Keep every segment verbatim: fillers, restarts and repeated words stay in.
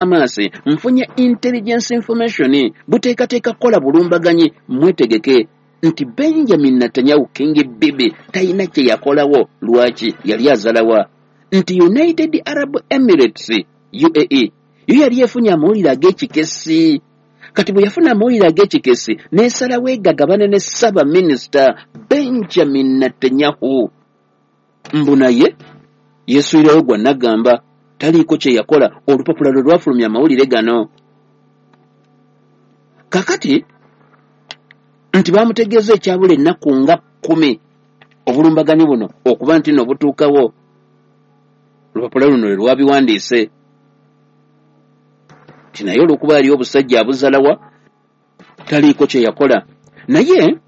Hamas, nfunye intelligence information, buteekateeka kukola bulumbaganyi, mwetegeke. Nti Benjamin Netanyahu King Bibi talina kye yakolawo. Lwaki yali azalawa? Nti United Arab Emirates, U A E, yo yali efunye amawulire ag'ekikesi. Kati bwe yafuna amawulire ag'ekikesi n'esalawo egagabane ne Ssaabaminisita Benjamin Netanyahu. Mbu naye yeesuulirayo gwa nagamba taliiko kye yakola. Olupapula lwe lwafulumya amawulire gano. Kakati nti bamutegeeza ekyabula ennaku nga kkumi obulumbaganyi buno okuba nti nno butuukawo. Olupapula luno lwe lwabiwandiise nti naye olw'okuba ali obusajja abuzalawa taliiko kye yakola. Naye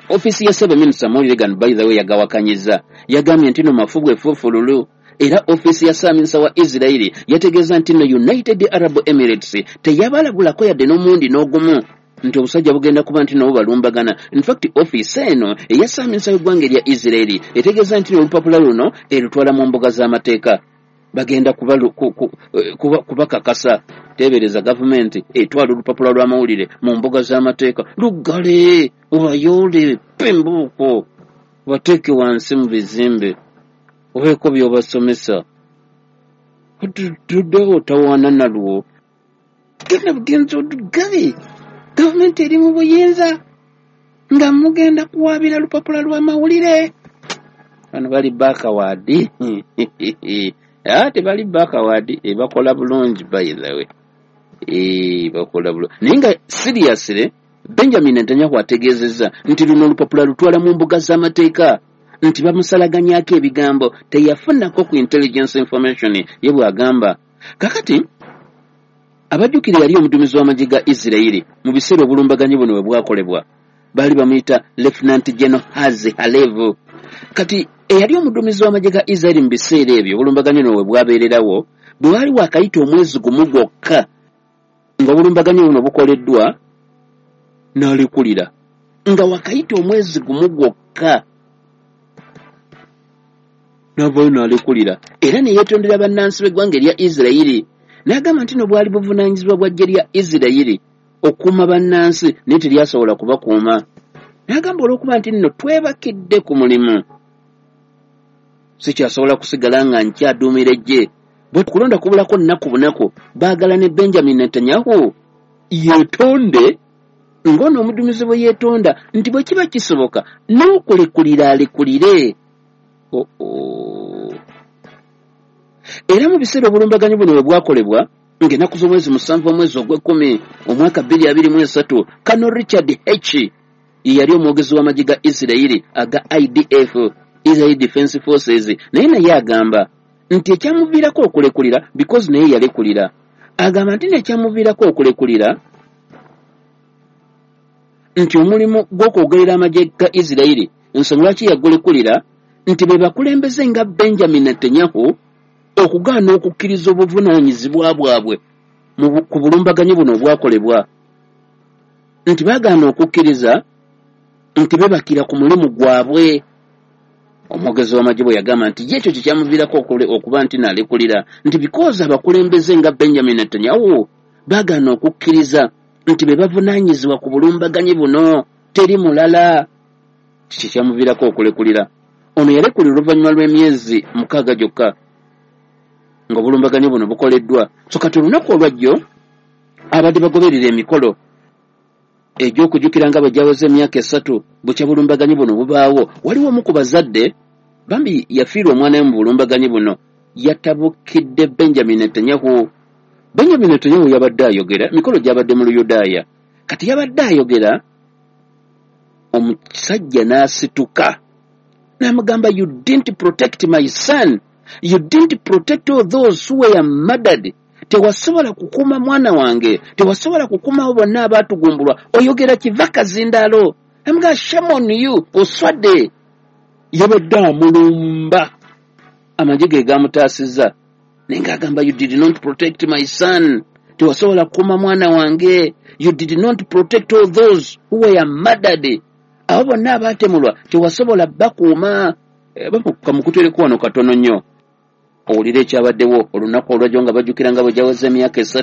ofiisi ya Ssaabaminisita amawulire gano by the way yagawakanyizza, yagambye nti no mafu bwefuufululu. Era ofiisi ya Ssaabaminisita wa Israeli yategeeza nti no United Arab Emirates teyabalabulako yadde n'omulundi n'ogumu nti obusajja bugenda kuba nti nabo balumbagana. In fact ofiisi eno eya Ssaabaminisita w'eggwanga erya Israeli etegeeza nti olupapula luno erutwala mu mbuga z'amateeka, bagenda kubakakasa. Teebereza gavumenti etwala olupapula lw'amawulire mu mbuga z'amateeka, luggale obayoole pembuuko bateeke wansi mu bizimbe obeeko by'obasomesa, tuddewo otawaana nalwo, genda bugenzi oduggale. Gavumenti eri mu buyinza nga mugenda kuwaabira lupapula lw'amawulire. Bano bali backward. Ah, tebali backward, bakola bulungi by the way. Eh, bakola bulungi. Naye nga seriously Benjamin Netanyahu ategeezezza nti luno olupapula lutwala mu mbuga z'amateeka, nti bamusalaganyako ebigambo teyafunako ku intelligence information ye bw'agamba. Kakati abajjukira yali omuduumizi w'amagye ga Israeli mu biseera obulumbaganyi buno bwe bwakolebwa, baali bamuyita Lieutenant General Herzi Halevi. Kati eyali omuduumizi w'amagye ga Israeli mu biseera ebyo obulumbaganyi buno bwe bwabeererawo, bwe waali waakayita omwezi gumu gwokka ng'obulumbaganyi buno bukoleddwa n'alekulira, nga wakayita omwezi gumu gwokka n'avaayo n'alekulira. Era ne yeetondera bannansi b'eggwanga erya Israeli n'agamba nti no bwali buvunaanyizibwa bwa ggye lya Israeli okukuuma bannansi naye teryasobola kubakuuma. N'agamba olw'okuba nti nno twebakidde ku mulimu, sikyasobola kusigala nga nkyaduumira eggye. Bwe kulonda kubulako nnaku bunaku, baagala ne Benjamin Netanyahu yeetonde ng'ono omuduumizi bwe yeetonda nti bwe kiba kisoboka n'okulekulira alekulire. Oh oh. Era mu biseera obulumbaganyi buno bwe bwakolebwa ng'ennaku z'omwezi musanvu omwezi ogw'ekkumi omwaka bbiri abiri mu esatu, Colonel Richard H ye yali omwogezi w'amagye ga Israeli aga I D F, Israel Defense Forces, naye naye agamba nti ekyamuviirako okulekulira, because naye yalekulira, agamba nti nekyamuviirako okulekulira nti omulimu gw'okwogerera amagye ga Israeli, ensonga lwaki yagulekulira nti be bakulembeze nga Benjamin Netanyahu okugaana okukkiriza obuvunaanyizibwa bwabwe ku bulumbaganyi buno obwakolebwa, nti baagaana okukkiriza nti bebakira ku mulimu gwabwe. Omwogezi w'amagye bwe yagamba nti ye ekyo kye kyamuviirako okuba nti n'alekulira, nti because abakulembeze nga Benjamin Netanyahu baagaana okukkiriza nti be bavunaanyizibwa ku bulumbaganyi buno, teri mulala, kye kyamuviirako okulekulira. Ono yalekulira oluvannyuma lw'emyezi mukaaga gyokka ng'obulumbaganyi buno bukoleddwa. So kati olunaku olwajjo abadde bagoberera emikolo egy'okujjukira nga bwe gyaweze emyaka esatu bukya bulumbaganyi buno bubaawo. Waliwo omu ku bazadde bambi yafiirwa omwana we mu bulumbaganyi buno, yatabukidde Benjamin Netanyahu. Benjamin Netanyahu yabadde ayogera, emikolo gyabadde mu Luyudaaya. Kati yabadde ayogera, omusajja n'asituka n'amugamba, you didn't protect my son, you didn't protect all those who were murdered. Tewasobola kukuuma mwana wange, tewasobola kukuuma abo bonna abaatugumbulwa, oyogera kiva kazindaalo. Amugamba shame on you, oswadde. Yabadde amulumba, amagye ge gaamutaasizza, naye ng'agamba you did not protect my son, tewasobola kukuuma mwana wange, you did not protect all those who were murdered, abo bonna abaatemulwa tewasobola bakuuma. Kamukutereko wano katono nnyo. Owulire ekyabaddewo olunaku olwajjo nga bajjukira nga bwe gyaweza emyaka esatu.